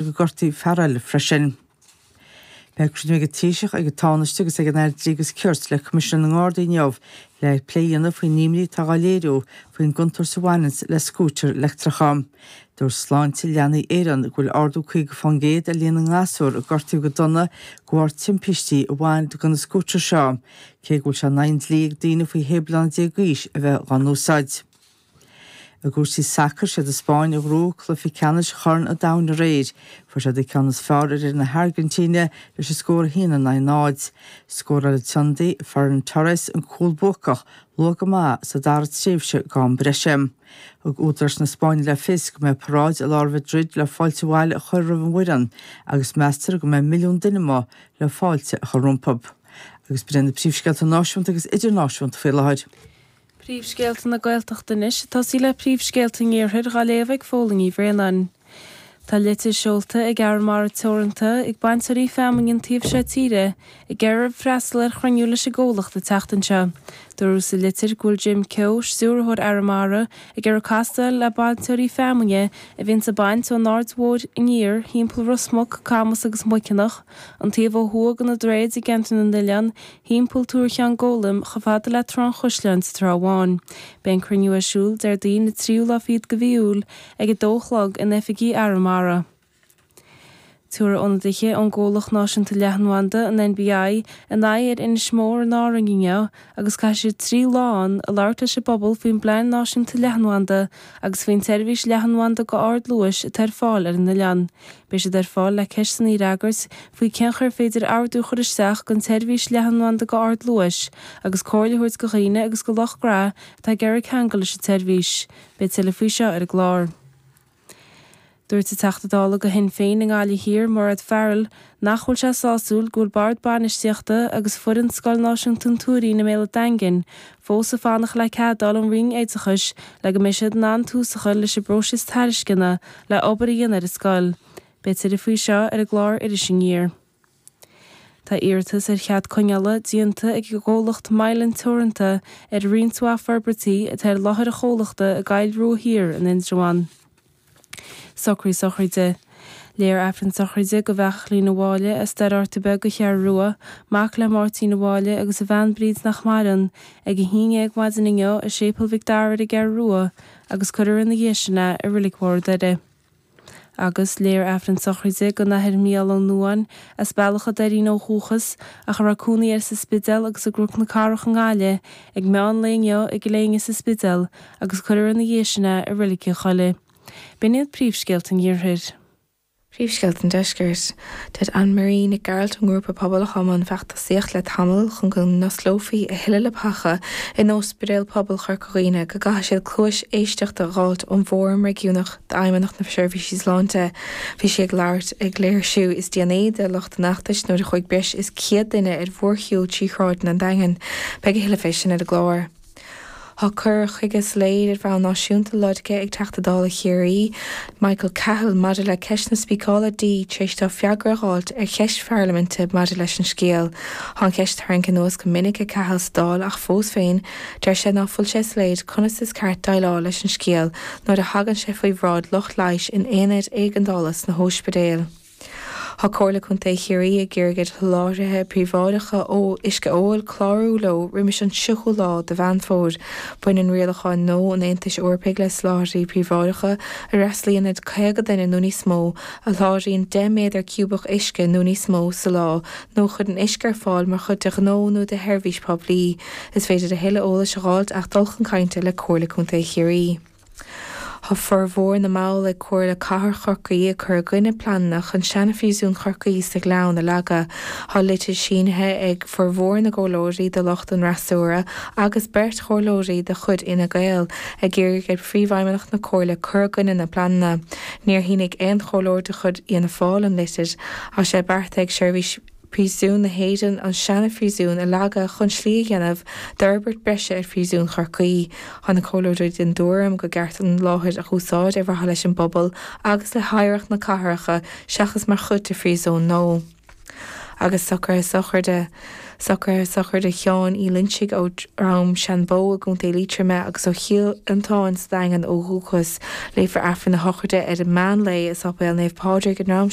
Gur gortaíodh fear eile freisin. Beidh cruinniú ag an Taoiseach, ag an Tánaiste agus ag an Aire Dlí agus Cirt le Coimisinéir na nGardaí inniu le plé a dhéanamh faoin imní atá á léiriú faoin gcontúirt a bhaineanns le scútair leictreacha. Dúirt Sláinte Leanaí Éireann go bhfuil ardú 50% ar líon na ngasúr a gortaíodh go dona de bharr timpistí a bhain do na scútair seo, cé go bhfuil sé in aghaidh an dlí ag daoine faoi 16 bliana d'aois a bheith dhá n-úsáid. I gcúrsaí sacair, siad an Spáinn a ghnóthaigh cluiche ceannais Chorn an Domhain aréir. Fuair siad an ceann is fearr ar fhoireann na hAirgintíne leis an scór 1 in aghaidh 0. Scóráil an t-ionadaí, Ferran Torres, an cúl buacach luath go maith sa dara tréimhse d'am breise. Thug údaráis na Spáinne le fios go mbeidh paráid i lár Mhadrid le fáilte abhaile a chur roimh an bhfoireann agus meastar go mbeidh milliún duine amuigh le fáilte a chur rompu. Agus b'in iad na príomhscéalta náisiúnta agus idirnáisiúnta faoi láthair. Príomhscéalta na Gaeltachta anois, ag tosaí le príomhscéalta an Iarthair dhá léamh ag Fódhla Ní Bhraonáin. Tá litir seolta ag Arramara Teoranta ag bainteoirí feamainne an taobh seo tíre ag iarraidh freastal ar chruinniú leis an gcomhlacht an tseachtain seo. Dúradh sa litir go bhfuil Jim Keogh, Stiúrthóir Arramara, ag iarraidh castáil le bainteoirí feamainne a bhíonns ag baint ón Aird Mhóir aniar thimpeall Ros Muc, Camas agus Muiceanach, an taobh ó thuaidh de na droichid i gceantar na n-oileán, thimpeall Túr Cheann Gólaim chomh fada le Trá an Chaisleáin sa Trá Bháin. Beidh an cruinniú ar siúl Déardaoin an tríú lá fichead de mhí Iúil ag 2 a chlog in oifigí Arramara. Tabharfaidh ionadaithe ón gComhlacht Náisiúnta Leathanbhanda, an NBI, a n-aghaidh ar Inis Mór in Árainn inniu agus caithfidh siad 3 lá ann ag labhairt leis an bpobal faoin bPlean Náisiúnta Leathanbhanda agus faoin tseirbhís leathanbhanda go ardluais atá ar fáil ar an oileán. Beidh siad ar fáil le ceisteanna a fhreagairt faoi cén chaoi ar féidir ordú a chur isteach don tseirbhís leathanbhanda go ardluais agus comhairle a thabhairt do dhaoine agus do lucht gnó atá ag iarraidh ceangal leis an tseirbhís. Beidh tuilleadh faoi seo ar an gclár. Dúirt an Teachta Dála do Shinn Féin i nGaillimh Thiar, Mairéad Farrell, nach bhfuil sé sásúil go bhfuil Bord Bainistíochta agus foireann Scoil Náisiúnta an Tuairín i mBéal an Daingin fós ag fanacht le cead a fháil ón Roinn Oideachais le go mbeidh siad in ann tús a chur leis an bpróiseas tairisceana le obair a dhéanamh ar an scoil. Beidh tuilleadh faoi seo ar an gclár Iris Aniar. Tá iarratas ar chead coinneála déanta ag an gcomhlacht Mylan Teoranta ar roinnt mhaith forbairtí atá ar láthair an chomhlachta i gCoill Rua Thiar in Indreabhán. Socruithe sochraide. Léifear Aifreann sochraide do Bheachlín Ó Mháille as Doire Fhearta Beag an Cheathrú Rua, mac le Máirtín Ó Mháille agus a bhean Bríd nach maireann, ag 11 maidin inniu i Séipéal Mhic Dara ar an gCeathrú Rua agus cuirfear ina dhiaidh sin é i Reilig Mhór Doire. Agus léifear Aifreann sochraide don Athair Mícheál Ó Nuadháin, as Bealach a' Doirín ó dhúchas, ach a raibh cónaí air sa Spidéal agus i gCnoc na Cathrach i nGaillimh, ag meán lae inniu i gCill Éinne sa Spidéal, agus cuirfear ina dhiaidh sin é i Reilig an Choilligh. B'in iad príomhscéalta an Iarthair. Príomhscéalta an Deiscirt. Deir Anne Marie Nic Gearailt ón ngrúpa Pobal atá i mbun feachtasaíocht le tamall chun go n-osclófaí a thuilleadh leapacha in Ospidéal Pobail Chorca Dhuibhne go gcaithfidh siad cluais éisteachta a dh'fháilt ón bhFóram Réigiúnach d'Fheidhmeannacht na Seirbhísí Sláinte. Bhí sí ag labhairt ag léirsiú is déanaí de lucht an fheachtais nuair a chuaigh breis is 100 duine ar mhórshiúl trí shráideanna an Daingin. Beidh a thuilleadh fé sin ar an gclár. Tá cur chuige soiléir ar bhonn náisiúnta lorgtha ag Teachta Dála Chiarraí, Michael Cahill, maidir le ceist na spíceála dí tar éis dó freagra a dh'fháilt ar cheist pharlaiminte maidir leis an scéal. Tá an cheist tarraingthe anuas go minic ag Cahill sa Dáil ach fós féin, deir sé ná fuil sé soiléir conas is ceart déileáil leis an scéal nuair a thagann sé faoi bhráid lucht leighis in aonaid éigeandála sna hóispidéil. Tá Comhairle Contae Chiarraí ag iarraidh ar sholáthraithe príobháideacha uisce óil clárú leo roimis an 30ú lá de Mheán Fómhair. Baineann rialacháin nua an Aontais Eorpaigh le soláthraithe príobháideacha a fhreastalaíonn ar 50 duine nó níos mó, a sholáthraíonn 10 méadar ciúbach uisce nó níos mó sa lá nó a chuireann uisce ar fáil mar chuid de ghnó nó de sheirbhís poiblí. Is féidir a thuilleadh eolais a dh'fháilt ach dul chun cainte le Comhairle Contae Chiarraí. Tá formhór na mball ag Comhairle Cathrach Chorcaí ag cur i gcoinne pleananna chun seana-phríosún Chorcaí sa Ghleann a leagadh. Tá litir sínithe ag formhór na gcomhairleoirí de lucht an fhreasúra agus beirt chomhairleoirí de chuid Fhine Gael ag iarraidh ar Phríomhfheidhmeannach na Comhairle cur i gcoinne na bpleananna. Níor shínigh aon chomhairleoir de chuid Fhianna Fáil an litir. Tá sé beartaithe ag Seirbhís Príosún na hÉireann an seana-phríosún a leagadh chun slí a dhéanamh d'fhorbairt breise ar Phríosún Chorcaí. Tá na comhairleoirí den dtuairim gur ceart an láthair a dh'úsáid ar mhaithe leis an bpobal agus le hoidhreacht na cathrach seachas mar chuid de phríosún nua. Agus socruithe sochraide. Socruithe sochraide Sheáin Uí Loinsigh ó Dhroim Seanbhó i gContae Liatroma agus ó Chill Fhionntáin sa Daingean ó dhúchas. Léifear Aifreann na sochraide ar an meán lae i Sáipéal Naomh Pádraig i nDroim.